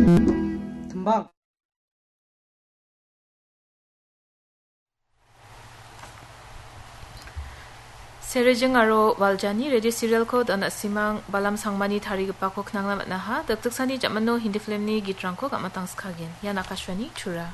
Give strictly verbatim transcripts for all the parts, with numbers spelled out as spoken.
Timbang. Serejing aro Waljani radio serialko dona simang balam sangmani tarigipako knangna man·aha. Dakdaksani jamano Hindi filmni gitrangko gam·atangskagen. Ian Akashvani Tura.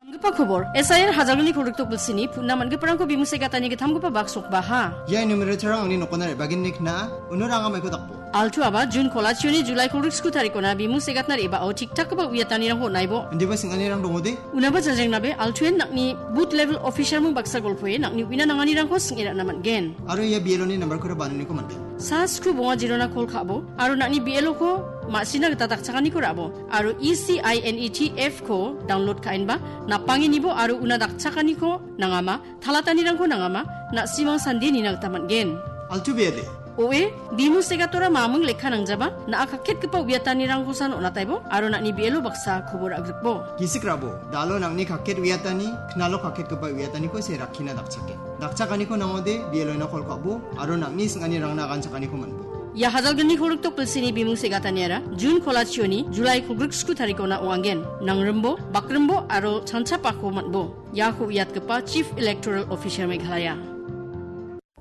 Namgipa kobor, S I R Hajalgni kolgrikdok bilsini putna man·giparangko bimung se·gatani gittamgipa bak sokbaha. Ia enumerator-rang angni nokona re·bagenni kna·a, uno ranga maiko dakbo. Altu aba Jun kolachioni Julai kolgrik sku tarikona bimung se·gatna re·baa tik-takgipa uiatanirangko on·aibo. Indiba sing·anirang dongode? Unaba janjrengnabe, Altuen nang·ni booth level officer-mung baksa golpoe nang·ni uina nanganirangko sing·e ra·na man·gen. Aro ia B L O-ni nambarkora bananiko man·gen. Sa sku bonga jirona kol ka·bo, aro nang·ni B L O-ko ma·sina gita dakchakaniko ra·bo, aro E C I N E T F-ko download ka·enba, napangenibo aro una dakchakaniko nangama, talatanirangko nangama, na·simang sande nina gita man·gen. Altu bede. Oe, bimung se·gatora mamung lekka nangjaba, na·a kaketgipa uiatanirangkosan on·ataibo, aro nang·ni B L O baksa kobor a·grikbo. Gisik rabo, dalo nang·ni kaket uiatani, knalo kaketgipa uiataniko se rakkina dakchaken. Dakchakaniko nangode, B L O-na kol ka·bo, aro nang·ni sing·anirangna aganchakaniko man·bo. Ia Hajalgni kolgrikdok bilsini bimung se·gataniara, Jun kolachioni, Julai kolgrik sku tarikona ong·angen. Nangrimbo, bakrimbo, aro chanchapako man·bo. Iako uiatgipa Chief Electoral Officer Meghalaya.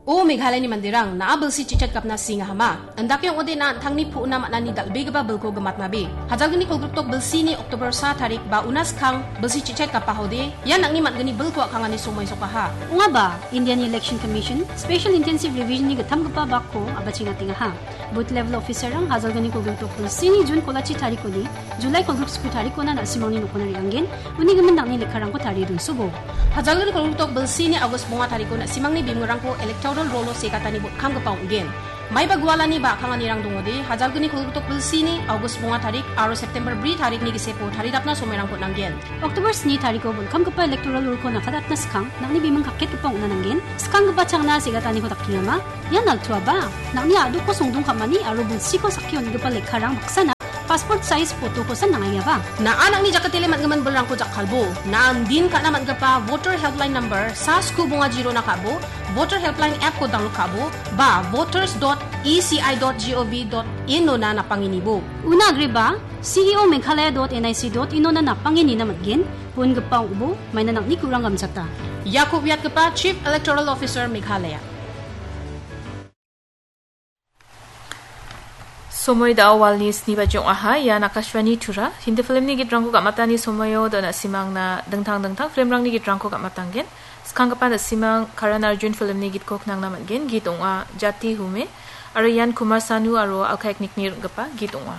O Meghalayani manderang, na·a bilsi chichat gapna singahama. Indake ong·ode na an·tangni pu·na man·ani dal·begipa bilko gimatnabe. Hajalgni kolgrikdok bilsini October sa tarik ba una skang bilsi chichat gapahode, ia nang·ni man·gni bilko a·kangani somoi sokaha. Ong·aba, Indian Election Commission Special Intensive Revision-ni gittamgipa bakko abachengatengaha. Booth level officer-rang Hajalgni kolgrikdok bilsini Jun kolachi tarikoni Julai kolgrik sku tarikona na·simangni nokona re·angen, uni gimin nang·ni lekkarangko tarie donsobo. Hajalgni kolgrikdok bilsini August bonga tariko na·simangni bimungrangko electoral roll-o se·gatani botkamgipa ong·gen. Maiba gualani ba a·kanganirang dongode, Hajalgni kolgrikdok bilsini August bonga tarik aro September bri tarikni gisepo taridapna somoirangko on·angen. October sni tariko botkamgipa electoral roll-ko nakadatna skang, nang·ni bimung kaketgipa ong·na nanggen, skanggipa changna se·gataniko dakengama, ian altuaba, nang·ni a·dokko songdong ka·mani aro bilsiko sakki on·gipa lekkarang baksana passport size photo-kosa nangaiaba. Na·a nang·ni jakatele man·gimin bilrangko jakkalbo. Na·a indin ka·na man·gipa voter helpline number sa sku bonga jirona ka·bo, voter helpline app-ko download ka·bo, ba voters dot E C I dot G O V dot in-ona napangenibo. Una agreba, C E O Meghalaya dot N I C dot in-ona napangenina man·gen, bon·gipa ong·bo, maina nang·ni ku·rang gamchata. Iako uiatgipa Chief Electoral Officer Meghalaya. Somoi da·o walni sni baji ong·aha. Ian Akashvani Tura. Hindi filmni gitrangko gam·atani somoio dona simangna dingtang dingtang filmrangni gitrangko gam·atanggen. Skanggipa na·simang Karan Arjun filmni gitko knangna man·gen. Git ong·a Jati Hume. Aro ian Kumar Sanu aro Alka Yagnikni rim·gipa git ong·a.